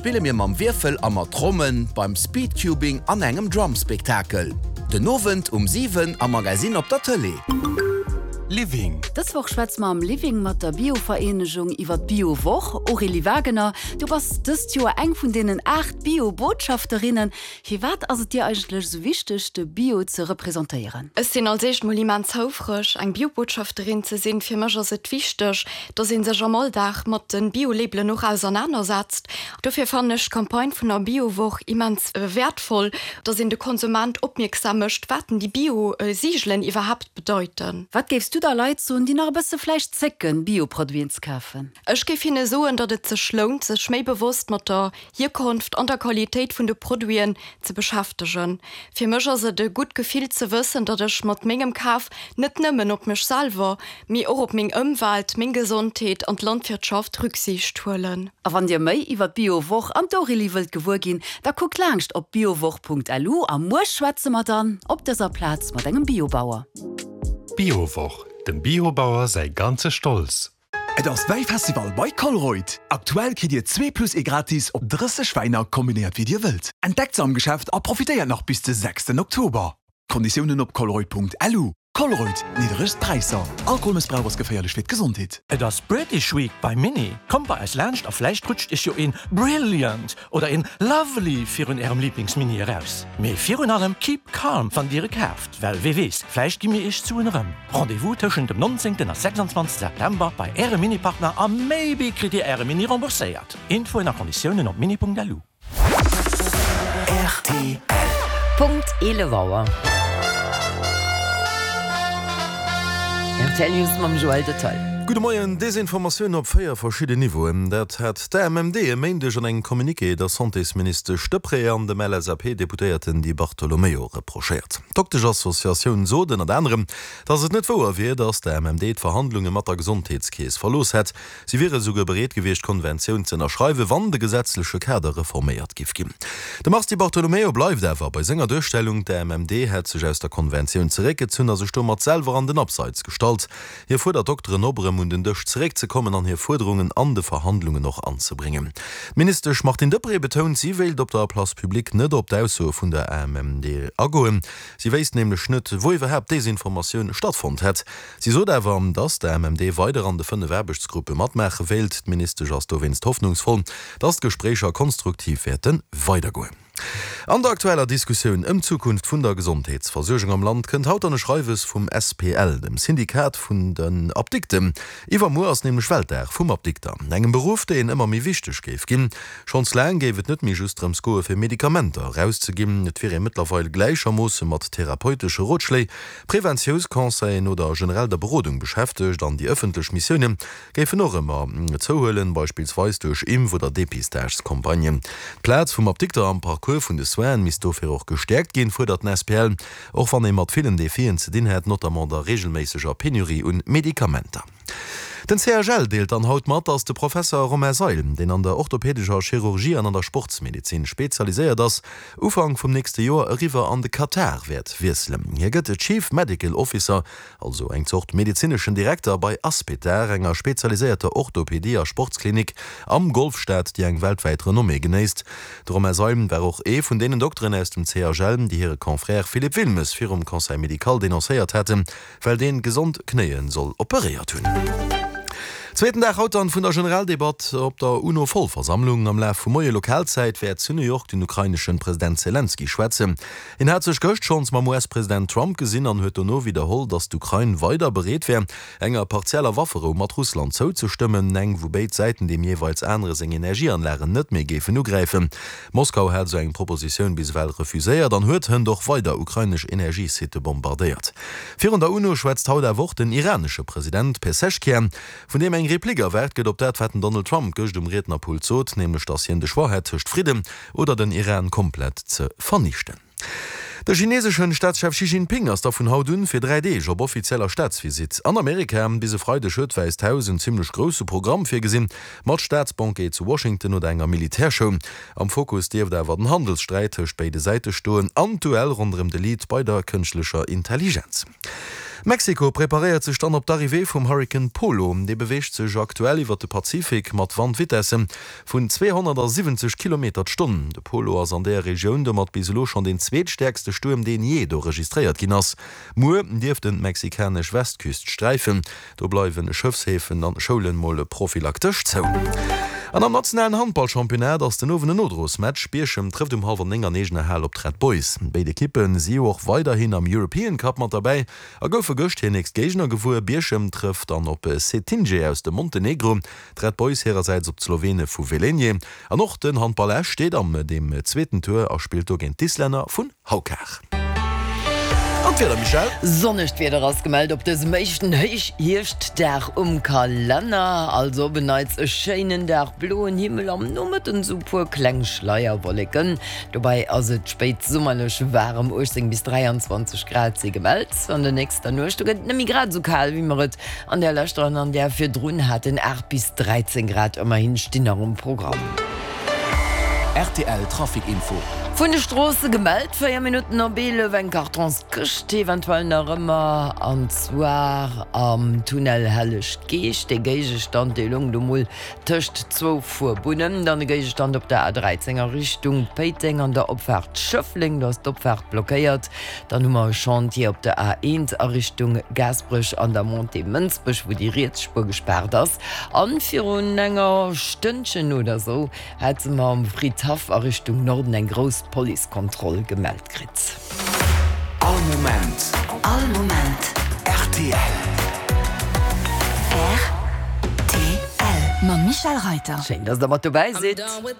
spille mir mam Wierfel a mat Trommen, beim Speedcubing an engem Drumspektakel. Den Owend um 7 am Magazine op der Tëlee. Living. Dës Woch schwätze mer am Living mat der Bio-Vereenegung iwwer d'Bio-Woch. Aurélie Wagener, du bass dëst Joer eng vun deenen 8 Bio-Botschafterinnen. Firwat ass et dir eigentlech esou wichteg, de Bio ze representéieren? Ech sinn als éischt mol immens houfreg, eng Bio-Botschafterin ze sinn. Fir mech ass et wichteg, dass ee sech am Alldag mat de Bio-Labelen och ausernanersetzt. Dofir fannen ech d'Campagne vun der Bio-Woch immens wäertvoll, dass een de Konsument opmierksam mécht, wat denn déi Bio-Sigelen iwwerhaapt bedeiten. Wat géifs du da Leit soen, déi nach e bësse vläicht zécken, Bio-Produiten ze kafen? Ech géif hinne soen, datt et sech lount, sech méi bewosst mat der Hierkonft an der Qualitéit vun de Produiten ze beschäftegen. Fir mech ass et e gutt Gefill ze wëssen, datt ech mat mengem Kaf net nëmmen op mech selwer, mee och op meng Ëmwelt, meng Gesondheet an d'Landwirtschaft Rücksiicht huelen. A wann dir méi iwwer d'Biowoch an d'Aurélie wëllt gewuer ginn, da kuckt laangscht op biowoch.lu a muer schwätze mer dann op dëser Plaz mat engem Biobauer. D'Biowoch, dem Biobauer säi ganze Stolz! Et ass Wäifestival bei Colruyt! Aktuell kritt dir zwee plus ee gratis op 30 Wäiner, kombinéiert wéi dir wëllt. Entdeckt se am Geschäft a profitéiert nach bis de 6 Oktober. Konditiounen op colruyt.lu. Colruyt, nidderegst Präisser. Alkoholmëssbrauch ass geféierlech fir d'Gesondheet. Et ass British Week bei Mini! Kommt bei eis laanscht a vläicht rutscht iech jo een Brilliant oder een Lovely virun ärem Lieblingsmini eraus. Mee virun allem keep calm wann dir e kaaft, well wee weess, vläicht gi mir iech d'Suen erëm. Rendez-vous tëschent dem 19 a 26 September bei ärem Mini-Partner a maybe kritt dir äre Mini rembourséiert. Infoen a Konditiounen op mini.lu. Rtl. Punkt 11 Auer. Rtl News mam Joël Detail. Gudde Moien. Desinformatioun op 4 verschidden Niveauen, dat hat d'AMMD e Méindeg an engem Communiqué der Santésministesch Deprez an dem LSAP-Deputéierten Di Bartolomeo reprochéiert. D'Dokteschassociatioun sot ënnert anerem, datt et net wouer wier, datt d'AMMD d'Verhandlunge mat der Gesondheetskeess verlooss hätt. Si wiere souguer bereet gewiescht, d'Konventioun ze ënnerschreiwen, wann de gesetzleche Kader reforméiert giff ginn. De Mars Di Bartolomeo bleift awer bei senger Duerstellung, d'AMMD hätt sech aus der Konventioun zeréckgezunn a sech domat selwer an den Abseits gestallt. Hie fuerdert d'Dokteren op, erëm un den Dësch zeréckzekommen an hir Fuerderungen an de Verhandlungen och anzebréngen. D'Ministesch Martine Deprez betount, si wéilt op der Place publique net op d'Aussoe vun der AMMD agoen. Si wéisst nämlech net, wou iwwerhaapt Desinformatioun stattfonnt hätt. Si sot awer, datt d'AMMD weider an de 5 Aarbechtsgruppe matmaache wéilt. D'Ministesch ass dowéinst hoffnungsvoll, datt d'Gespréicher konstruktiv wäerte weidergoen. An der aktueller Diskussioun ëm d'Zukunft vun der Gesondheetsversuergung am Land kënnt haut dann e Schreiwes vum SPL, dem Syndikat vun den Apdikten. Iwwermuer ass nämlech Weltdag vum Apdikter, engem Beruff, deen ëmmer méi wichteg géif ginn. Schonns laang géif et net méi just drëms goe fir Medikamenter erauszeginn, et wier ee mëttlerweil gläichermoosse mat therapeutesche Rotschléi, Preventiounsconseillen oder generell der Berodung beschäftegt an déi ëffentlech Missioune géifen och ëmmer zouhuelen, beispillsweis duerch Impf oder Depistagescampagnen. D'Plaz vum Apdikter am Parcours vun de Soinen misst dofir och gestäerkt ginn, fuerdert den SPL, och wann ee mat villen Defien ze dinn hätt, notamment der reegelméisseger Penurie un Medikamenter. Den CHL deelt dann haut mat, datt de Professer Romain Seil, deen an der orthopädescher Chirurgie an an der Sportsmedezin spezialiséiert ass, Ufank vum nächste Joer eriwwer an de Katar wäert wiesselen. Hie gëtt Chief Medical Officer, also eng Zort medezineschen Direkter, bei Aspetar, enger spezialiséierter Orthopädie a Sportsklinik am Golfstaat, déi eng weltwäit Renommée genéisst. De Romain Seil war och ee vun deenen Dokteren aus dem CHL, déi hire Confrère Philippe Wilmes virum Conseil médical denoncéiert haten, Well deen gesond Knéien soll operéiert hunn. Zweeten Dag haut dann vun der Generaldebatt op der UNO-Vollversammlung. Am Laf vum Moie Lokalzäit wäert zu New York den ukraineschen President Selenskyj schwätzen. Hien hat sech gëscht schonns mam US-President Trump gesinn an huet dono widderholl, datt d'Ukrain weider bereet wär, enger partieller Wafferou mat Russland zouzestëmmen, eng wou béid Säiten deem jeeweils anere seng Energieanlagen net méi géifen ugräifen. Moskau hat esou eng Propositioun bis ewell refuséiert an huet hënt och weider ukrainesch Energiesitte bombardéiert. Virun der UNO schwätzt haut awer och den iranesche President Pezeshkian, vun deem eng Replik erwaart gëtt op dat, wat den Donald Trump gëscht um Riednerpult sot, nämlech datt hien de Choix hätt tëscht Fridden oder den Iran komplett ze vernichten. De chineseschen Staatschef Xi Jinping ass da vun haut un fir 3 Deeg op offizieller Staatsvisitt an Amerika. Bis e Freideg huet d'Wäisst Haus en zimmlech grousse Programm virgesinn, mat Staatsbanquet zu Washington oder enger Militärshow. Am Fokus dierft awer den Handelssträit tëscht béide Säite stoen an d'Duell ronderëm de Lead bei der kënschtlecher Intelligenz. Mexiko preparéiert sech dann op d'Arrivée vum Hurrikan Polo. Dee beweegt sech aktuell iwwer de Pazifik mat Wandvitesse vun 270 Kilometer d'Stonn. De Polo ass an där Regioun domat bis elo schonn deen zweetstäerkste Stuerm, deen jee do registréiert ginn ass. Muer dierft en d'mexikanesch Westküst sträifen. Do bleiwen Schëffshäfen an Schoulen mol prophylaktesch zou. An am nationalen Handballchampionnat ass den Owend en Nodrosmatch. Bierchem trëfft um hallwer 9 an eegener Hal op d'Red Boys. Béid Ekippe si jo och weiderhin am European Cup mat derbäi a goufe gëscht hir nächst Géigner gewuer. Bierchem trëfft dann op Cetinje aus dem Montenegro, d'Red Boys hirersäits op d'Slowene vu Velenje. An och den Handball Esch steet am deem zweeten Tour a spillt do géint d'Islänner vun Haukar. An d'Wieder, Michèle? Sonnegt Wieder ass gemellt op dësem éischten Héichhierschtdag um Kalenner. Also op en Neits e schéinen Dag, bloen Himmel, am Nomëtten esou puer kleng Schleierwolleken. Dobäi ass et spéitsummerlech waarem, 18 bis 23 Grad si gemellt. An der nächster Nuecht do gëtt et net méi grad esou kal, wéi mer et an der leschter an an där virdrun haten, 8 bis 13 Grad ëmmerhin stinn nach um Programm. Rtl Trafic Info. Vun de Stroosse gemellt, 4 Minutten op 11, eng Kartonskëscht eventuell nach ëmmer, an zwar am Tunnel Helleg Geescht. Dee Géigestand, dee loung do mol tëscht zwou Fuerbunnen. Dann e Géigestand op der A13 a Richtung Péiteng an der Opfaart Schëffleng, do ass d'Opfaart blockéiert. Dann hu mer e Chantier op der A1 a Richtung Gaasperech an der Montée Mënsbech, wou déi riets Spuer gespaart ass. An virun enger Stënnchen oder sou hate mer am Fridhaff a Richtung Norden eng grouss Policekontroll gemellt kritt. All Moment. All Moment. Rtl. Rtl. Mam Michèle Reiter. Schéin, dass der mat dobäi sidd.